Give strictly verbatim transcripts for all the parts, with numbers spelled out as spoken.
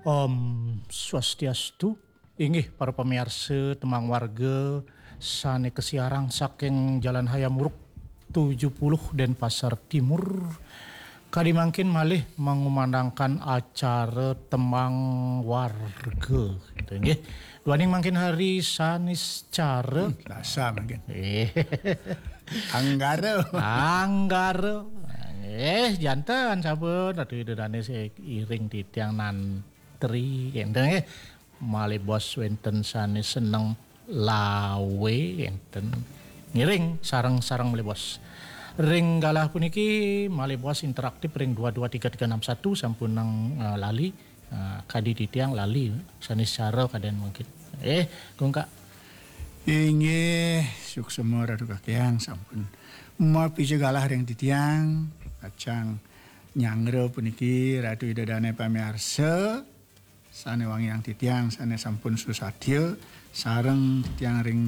Om Swastiastu, inggih para pamiarsa Tembang Warga sane kasiarang saking Jalan Hayam Wuruk tujuh puluh Denpasar Timur. Kadi mangkin malih mangumandangkan acara Tembang Warga, gitu, inggih. Duaning mangkin hari Saniscara. Hmm, Selasa mangkin. Eh. Anggara. Anggara. Eh, janten sampun Ratu Ida Dane iring titiang nantri, enten nggih. Malih bos wenten sane seneng lawe, enten ngiring sareng-sareng malih bos. Ring galah puniki malih bos interaktif ring dua dua tiga tiga enam satu sampun nang, eh, lali. Eh, kadi titiang lali, Saniscara kaden mungkin. Eh, Gungkak. Inggih, suksema Ratu Kakyang sampun mapija galah ring titiang, pacang nyanggra puniki Ratu Ida Dane pamiarsa, sane wangiang titiang, sane sampun susatya, sareng titiang ring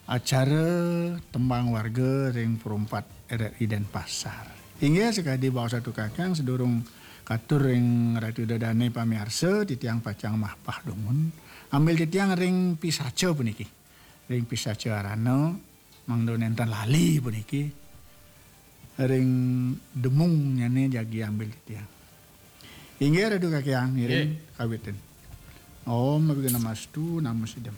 acara Tembang Warga ring Perumpat R R I Denpasar. Inggih, sakadi baos Ratu Kakyang, sadurung katur ring Ratu Ida Dane pamiarsa, titiang pacang mapah dumun. Ambil titiang ring pisaca puniki. Ring pisaca arana, mangda nenten lali puniki. Ring demungnyane jagi ambil titiang. Inggih, Ratu Kakyang, ngiring kawitin. Om Awighnamastu, Namo Siddham.